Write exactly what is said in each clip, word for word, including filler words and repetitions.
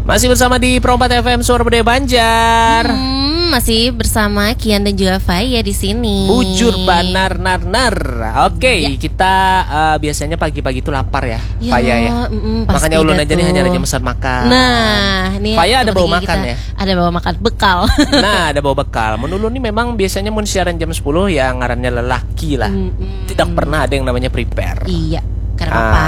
Masih bersama di Pro empat F M Suara Budaya Banjar. Hmm, masih bersama Kian dan juga Faya di sini. Bujur banar nar nar. Oke, Ya. kita eh, biasanya pagi-pagi itu lapar ya, Ya, Faya ya. mm-mm, pasti Makanya ulun dah aja nih tuh. Hanyar Aja mesan makan. Nah, nih Faya ada seperti bawa makan kita. Ya? Ada bawa makan bekal. Nah, ada bawa bekal. Mun ulun nih memang biasanya mun siaran jam sepuluh ya ngarannya lelaki lah. Mm-mm. Tidak pernah ada yang namanya prepare. Iya, karena Ah. apa?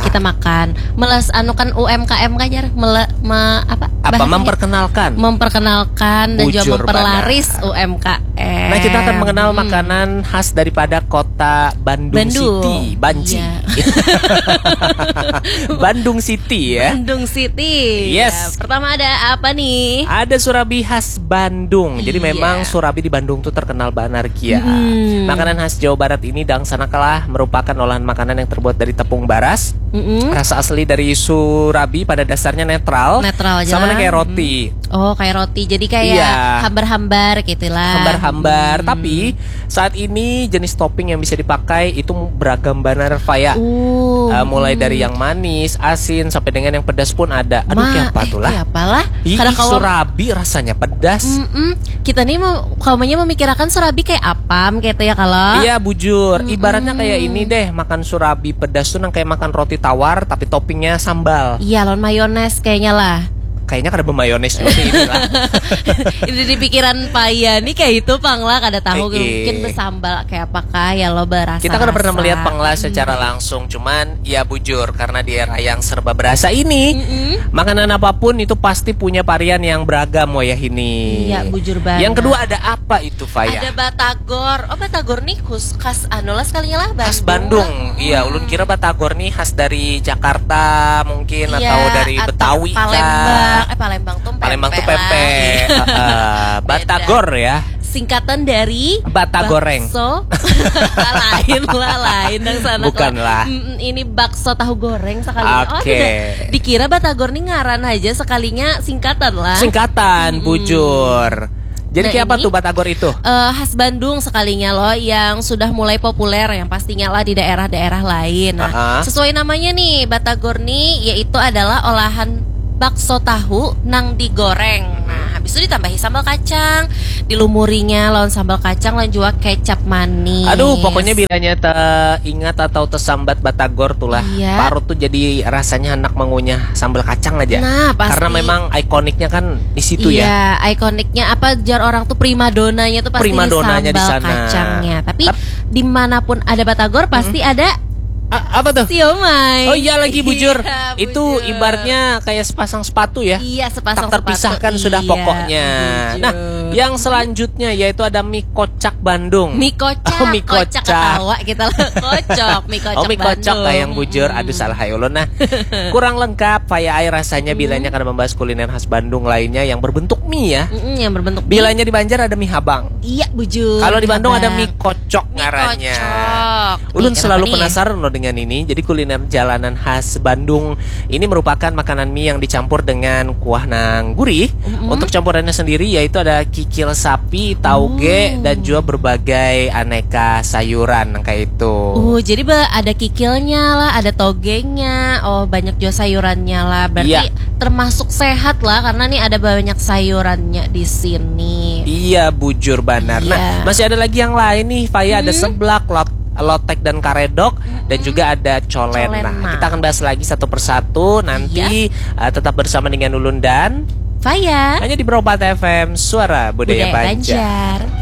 Kita makan. Melas anu kan U M K M kan jar? Mele, me, apa? Apa bahasanya? Memperkenalkan? Memperkenalkan dan juga Bujur memperlaris U M K M. Nah, kita akan mengenal Hmm. makanan khas daripada kota Bandung, Bandung. City, Banci. Iya. Bandung City ya. Bandung City. Yes. Ya, pertama ada apa nih? Ada surabi khas Bandung. Jadi Iya. memang surabi di Bandung tuh terkenal banar kia. Mm-mm. Makanan khas Jawa Barat ini dangsanakan lah merupakan olahan makanan yang terbuat dari tepung baras. Mm-mm. Rasa asli dari surabi pada dasarnya netral. Netral aja Sama lah. Kayak roti. Oh, kayak roti. Jadi kayak Iya. hambar-hambar gitu lah. Hambar-hambar, Hmm. Tapi saat ini jenis topping yang bisa dipakai itu beragam banar, Faya. Uh, Eh, mulai hmm. dari yang manis, asin, sampai dengan yang pedas pun ada. Aduh, Ma, kayak apa eh, tuh lah? Kayak apalah? Ih, Kada kawa- surabi rasanya pedas. Mm-mm. Kita nih mau kaumanya memikirkan surabi kayak apam gitu ya kalau. Iya, bujur. Mm-mm. Ibaratnya kayak ini deh, makan surabi pedas tuh nang kayak makan roti tawar tapi toppingnya sambal. Iya, lawan mayones kayaknya lah. Kayaknya kada bermayones juga sih ini lah. Ini di pikiran Faya nih kayak itu pang lah, kada tahu Eh, eh. Mungkin bersambal kayak apakah ya lo berasa. Kita kada pernah melihat pang lah Hmm. secara langsung, cuman ya bujur karena di era yang serba berasa ini, Mm-mm. makanan apapun itu pasti punya varian yang beragam wayah ini. Iya, bujur banget. Yang kedua ada apa itu, Faya? Ada batagor. Oh, batagor nih khas, khas anu lah sekalinya lah, Khas Bandung. Bandung, iya. Ulun kira batagor nih khas dari Jakarta mungkin Iya, atau dari atau Betawi Palembang. kah? Eh, Palembang tuh Palembang tuh pempek pempek. lah. Heeh. Batagor ya. Singkatan dari Batagoreng. Bakso. Lain lah, lain dong sana. Bukan lah. Mm-mm, ini bakso tahu goreng sekalinya. Oh, Oke. tidak. Dikira batagor nih ngaran aja, sekalinya singkatan lah. Singkatan, bujur. Jadi Nah, kayak apa ini tuh batagor itu? Eh, khas Bandung sekalinya loh, yang sudah mulai populer yang pastinya lah di daerah-daerah lain. Nah, Ah. sesuai namanya nih, batagor nih yaitu adalah olahan bakso tahu nang digoreng. Nah, habis itu ditambahi sambal kacang, dilumurinya lawan sambal kacang dan juga kecap manis. Aduh, pokoknya bilanya teringat atau tersambat batagor tuh lah. Iya. Parut tuh jadi rasanya anak mengunyah sambal kacang aja. Nah, pasti. Karena memang ikoniknya kan di situ ya. Iya, ikoniknya apa, jar orang tuh primadonanya tuh pasti Primadonanya di di sambal sana. Kacangnya. Tapi Tap- dimanapun ada batagor pasti ada A- apa tuh? Siomay. Oh iya lagi, bujur. Iya, Itu bujur. Ibaratnya kayak sepasang sepatu ya. Iya, sepasang Tak terpisahkan sepatu. Sudah Iya, pokoknya. bujur. Nah, yang selanjutnya yaitu ada mie kocak Bandung. Mie kocak, Oh, mie kocak kocak. Ketawa kita lah. Kocok, mie kocak Oh, mie kocak Bandung. Kayak yang bujur. Aduh, salah hai ulun nah. Kurang lengkap, Faya ai, rasanya bilanya karena membahas kuliner khas Bandung lainnya yang berbentuk mie ya. Mm-mm, yang berbentuk mie. Bilanya di Banjar ada mie habang. Iya, bujur. Kalau di Bandung ada Habang. Mie kocok Mie ngarannya. kocok. Ulun Mie selalu kenapa nih? Penasaran loh dengan ini. Jadi kuliner jalanan khas Bandung ini merupakan makanan mie yang dicampur dengan kuah nang gurih. Mm-mm. Untuk campurannya sendiri yaitu ada kikil sapi, tauge, Oh. dan juga berbagai aneka sayuran yang kayak itu. Uh, jadi ba- ada kikilnya lah, ada togenya, oh banyak juga sayurannya lah. Berarti Iya. Termasuk sehat lah karena nih ada banyak sayurannya di sini. Iya, bujur banar. Nah, Iya. Masih ada lagi yang lain nih, Faya. Ada Hmm. seblak, lot- lotek dan karedok, dan juga ada colen. Colen, Nah, nah. Kita akan bahas lagi satu persatu nanti. Iya. Uh, tetap bersama dengan Ulun dan Faya. Hanya di Pro empat F M, Suara Budaya, Budaya Banjar. Banjar.